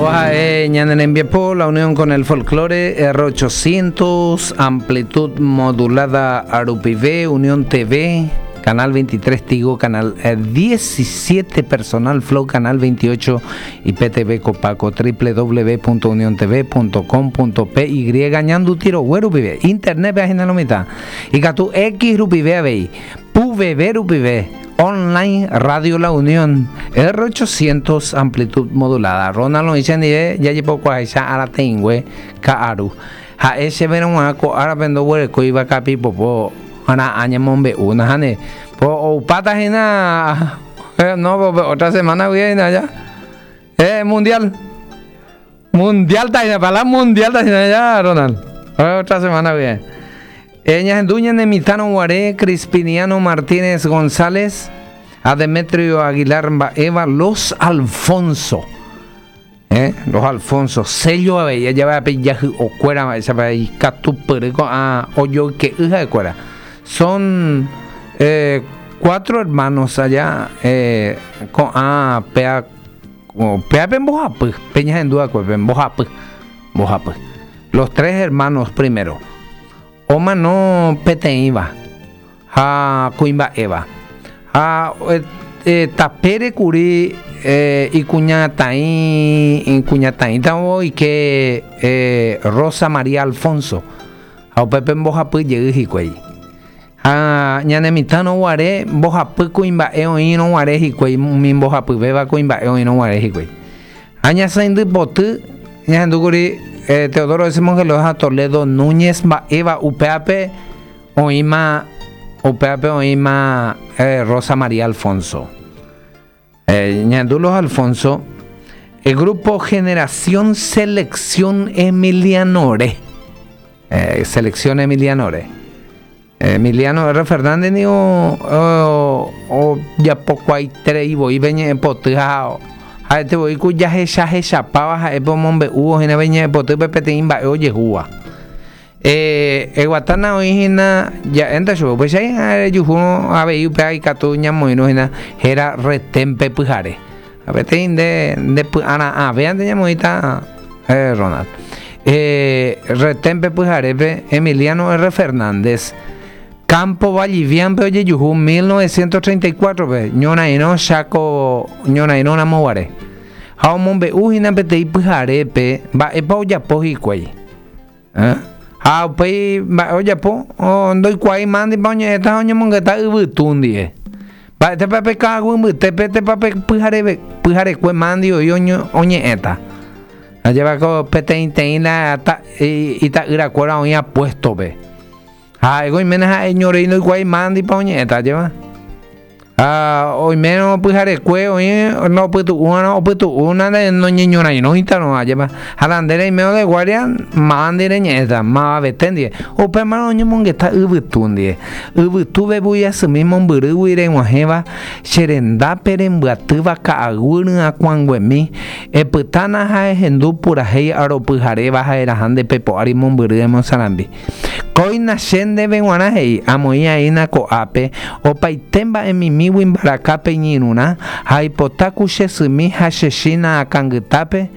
Ko ha'e ñane rembiapo La Unión con el Folklore R800 amplitud modulada rupive Unión TV Canal 23 Tigo Canal 17 Personal Flow Canal 28 IPTV Copaco www.uniontv.com.py Ñanduti rogue rupive Internet-pe ahina lo mitã Ikatu X rupive avei PVB rupive Online Radio La Unión R800 amplitud modulada Ronald oĩ chendive jajepokuaaháicha arateĩngue ka'aru Ha'e chéverõ g̃uarã ko árape ndoguerekóiva kapipopo ra'ã ñemombe'u nahániri Po oupáta hína no otra semana guive hína ja eh mundial mundial ta hína palabra mundial ta hína ja Ronald otra semana guive eh ñahendu ñane mitãrõ guare Crispiniano Martínez González ha Demetrio Aguilar mba'éva Los Alfonso Eh, los Alfonso, sello avei ajave pe ijahy'okuéra mba'éichapa ikatupyry ko'ã ojoyke'y ha'ekuéra. Son eh, cuatro hermanos allá eh, ko'ã péa péa pe mbohapy, pe ñahendu va'ekue pe mbohapy, mbohapy. Los tres hermanos primero. Omano peteĩva ha kuimba'éva. Ha tapére kuri ikuñataĩ ikuñataĩta oike Rosa María Alfonso ha upépe mbohapy jey hikuái. Ha ñane mitãrõ guare mbohapy kuimba'e oĩrõ guare hikuái umi mbohapyvéva kuimba'e oĩrõ guare hikuái. Ha ñasãindy poty ñahendu kuri Teodoro S. Mongelós ha Toledo Núñez mba'éva upévape oĩma upévape oĩma Rosa María Alfonso. Ñahendu los Alfonso, el grupo Generación Selección Emilianore. Selección Emilianore. Emiliano R. Fernández niko ojapokuaaiterei voi pe ñe'ẽpoty ha ha'ete voi ku jahechahechapáva ha'e pe omombe'úvo hína pe ñe'ẽpotýpe peteĩ mba'e ojehúva. Eguatána oĩ hína ja'énte chupe, upéicha rejuhúrõ avei upéva ikatu ñamoirũ hína héra Retén-pe pyhare. Ha peteĩ nde nde py'ara'ãvéante ñamoĩta Ronald. Retén-pe pyharépe Emiliano R. Fernández, Campo Vallivian-pe ojejuhu 1934-pe, ñorairõ Chaco ñorairõ ramo guare. Ha omombe'u hína peteĩ pyharépe mba'épa ojapo hikuái. Ha upéi mba'e ojapo? Ndoikuaái mándipa oñe'ẽta ha oñemongeta yvytu ndive. Mba'étepa pe ka'aguy mbytépe tepa pe pyhareve, pyharekue mandi oĩ oñe'ẽta. Ajépa ko peteĩteĩ la ita'yrakuéra oĩ apuéstope. Ha ha'éko oiméne ha'eñorei ndoikuaái mándipa oñe'ẽta, ajépa. Ha oimérõ pyharekue oĩ la opytu'úvarõ opytu'u noñeñorairõitarõ ajépa. Ha la nde reimérõ de guardia máva ndive reñe'ẽta, mavavete ndive. Upémarõ oñemongeta yvytu ndive. Yvytu vevúi asymi mombyrýgui reg̃uahẽva che rendápe rembyatýva ka'aguy ryakuãnguemi, epytána ha ehendu purahéi aropyharéva ha eraha nde pepo ári mombyry emosarambi. Kóina che ndéve g̃uarã he'i, Amoĩ aína ko'ápe, opaite mba'emimígui mbaraka pe iñirũrã, ha aipota ku che symi ha che chína akãngytápe.